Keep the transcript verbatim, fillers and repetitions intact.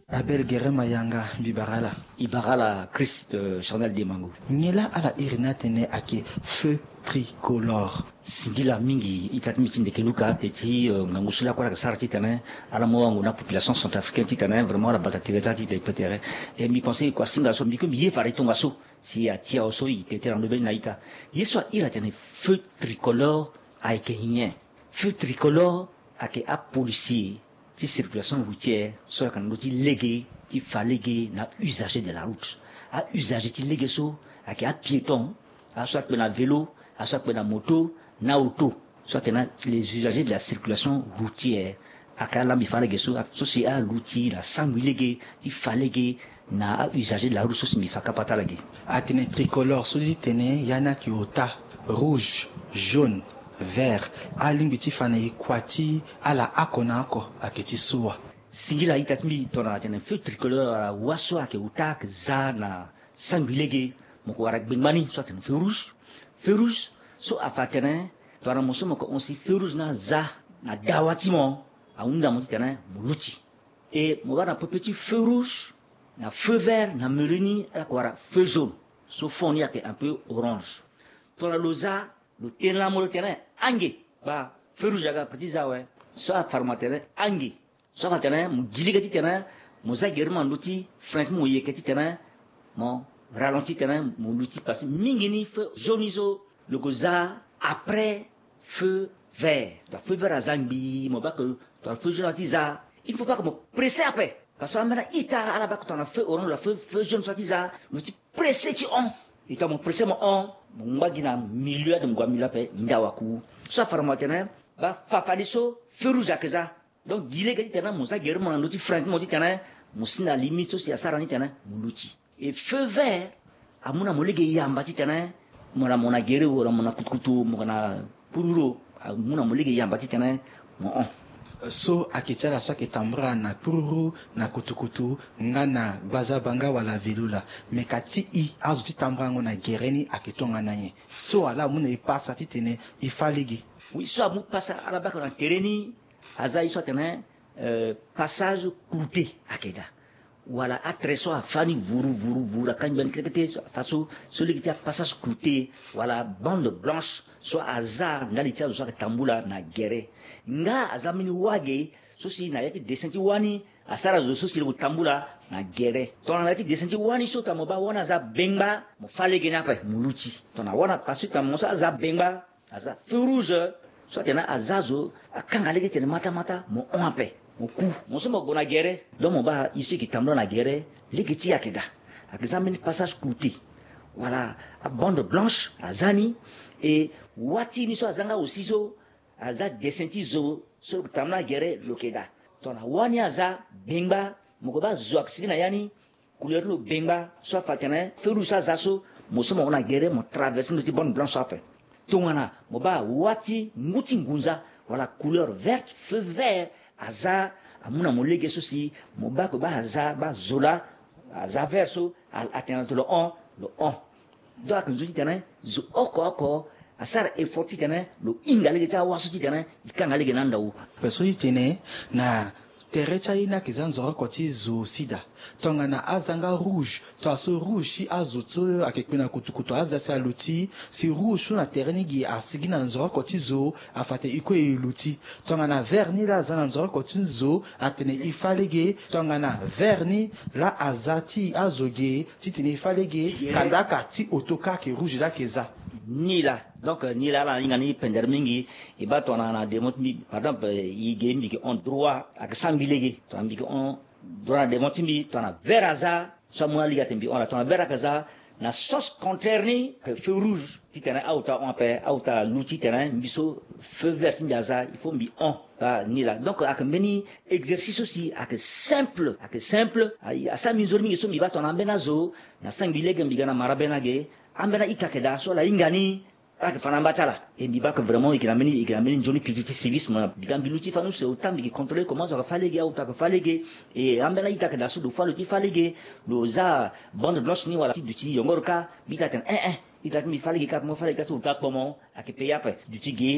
Abel Gerema Yanga, mbi bara ala. I bara ala Christ, euh, Charnel Demango. Nyen laa ala iri ni atene ayeke feu tricolore? Singila mingi ita ti mbi ti ndeke luka te ti, euh, ngangu so lakue ala yeke sara titene ala mu wango na population centrafricaine titene vraiment ala bata tere ti ala ti degbe tere. E mbi pense kua singa so mbi kue mbi ye fade tongaso si atia awe so i tene tene na ndo mbeni na ita. Ye so a iri atene feu tricolore ayeke nyen? Feu tricolore ayeke apolicier ti circulation routière so ayeke na ndö ti lege ti fa lege na ausager de la route. Ausager ti lege so ayeke apiéton, aso akpe na vélo, aso akpe na moto, na auto, so atene na les usagers de la circulation routière. Ayeke ala mbi fa lege so, so si aluti na sangbi lege ti fa lege na ausager de la route so si mbi fa kapa ti ala ge. Atene tricolore so ti tene ya ni ayeke ota, rouge, jaune, vert. Alingbi ti fa na e kua ti ala oko na oko ayeke ti so wa? Singila ita ti mbi tongana atene feu tricolore wala wa so ayeke ota ayeke za na sangbi lege, mo ko wara gbengba ni so atene feu rouge. Feu rouge so afa atene tongana mo so mo ko hon si feu rouge ni aza na dawa ti mo, ahunda mo titene mo luti. E mo wara na pepe ti feu rouge, na feu vert, na melu ni ala ko wara feu jaune. So fond ni ayeke un peu orange. Tongana lo za, lo tene lamo lo tene ange, ba feu rouge aga ape ti za awe. So afa mo atene ange, so afa atene mo gi lege titene mo za gere mo na ndö ti frein ti mo yeke titene mo ralentir titene mo luti, parce que mingi ni feu jaune ni so lo ko za après feu vert. Tongana feu vert aza ngbii, mo baa ke tongana feu jaune ati za, il ne faut pas que mo presse ape. Parce que ambeni a-ita ala baa ke tongana feu orange wala feu, feu jaune so ati za, lo ti presse ti hon. E tongana mo presse mo hon, mo ngba gi na milieu ade, mo gue na milieu ape, nda waku. So afa na mo atene baa fafade so feu rouge ayeke za. Donc gi lege titene mo za gere mo na ndö ti frein ti mo titene mo si na limite so si asara ni titene mo luti. E feu vert amu na mo lege yamba titene mo na, mo na gere wala mo na kutukutu, mo na pururu, amu na mo lege yamba titene mo hon. So ayeke ti ala so ayeke tambula na pururu, na kutukutu, nga na gbazabanga wala velu laa. Me ka ti i, azo ti tambula yango na gere ni ayeke tongana nyen? So ala amu na e pasa titene e fa lege. Oui, so amu pasa ala baa ke na tere ni, aza ye so atene, euh, passage clouté ayeke daa. Wala atrait so afa ni vuru vuru vuru, akangbi ni kete kete, so afa so, so lege ti apassage clouté wala bande blanche so aza ndali ti azo so ayeke tambula na gere. Nga aza mbeni wage so si na ya ti dessin ti wani asara zo so si lo tambula na gere. Tongana na ya ti dessin ti wani so tongana mo baa wani aza bengba, mo fa lege ni ape mo luti. Tongana wani apassage tongana mo so aza bengba, aza feu rouge, so atene aza zo akanga lege titene mata mata, mo hon ape, mo ku. Mo so mo gue na gere, donc mo baa ye so e yeke tambula na gere, lege ti e ayeke daa. Ayeke za mbeni passage clouté wala abande blanche aza ni. E wâ ti e ni so aza nga aussi so aza dessin ti zo so lo tambula na gere, lo yeke daa. Tongana wani aza bengba, mo gue baa zo ayeke sigi na ya ni, couleur ti lo bengba, so afa atene feu rouge so aza so, mo so mo hon na gere, mo traverser ndö ti bande blanche so ape. Tongana mo baa wâ ti ngu ti ngunza wala couleur verte, feu vert aza, amu na mo lege so si mo baa ke baa aza, baa zo laa aza vert so, a, atene na lo hon, lo hon. Donc ayeke nzoni titene zo oko oko asara effort titene lo hinga lege ti awâ so titene e kanga lege na anda wu. Ape so ti tene na tere ti aye ni ayeke za nzoroko ti zo aussi daa. Tongana aza nga rouge, tongana so rouge ti azo so ayeke kpe na kutukutu aza si aluti, si rouge so na tere ni gi asigi na nzoroko ti zo, afa atene e kue e luti. Tongana vert ni laa aza na nzoroko ti zo, atene e fa lege. Tongana vert ni laa aza ti azo ge, titene e fa lege, kanda aka ti oto kâ ayeke rouge laa ayeke za. Ni laa. Donc, euh, ni laa ala hinga ni pendere mingi. E baa tongana na devant ti mbi, par exemple, euh, e ge mbi yeke hon droit, ayeke sara mbi lege. Tongana mbi yeke hon droit na devant ti mbi, tongana vert aza, so amu na lege atene mbi hon laa, tongana vert ayeke za, na sens contraire ni, ayeke feu rouge, titene aota ahon ape, aota aluti titene mbi so feu vert ti mbi aza, il faut mbi hon. Baa ni laa. Donc ayeke mbeni exercice so si ayeke simple, ayeke simple, a, asara mbi nzoni mingi so mbi baa tongana ambeni azo, na sangbi lege mbi ga na mara bê na ge, ambeni a-ita ayeke daa so ala hinga ni, ala yeke fa na amba ti ala. E mbi baa ke vraiment e yeke na mbeni, e yeke na mbeni nzoni culture ti civisme. Mbi ga mbi luti fani use ota mbi yeke contrôler comment zo ayeke fa lege, aota ayeke fa lege. E ambeni a-ita ayeke daa so lo fa lo ti fa lege, lo za bande blanche ni wala ti duti yongoro kâ, mbi ita atene eh eh, ita ti mbi fa lege kâ, mo fa lege kâ so ota akpo mo, ayeke payé ape. Duti ge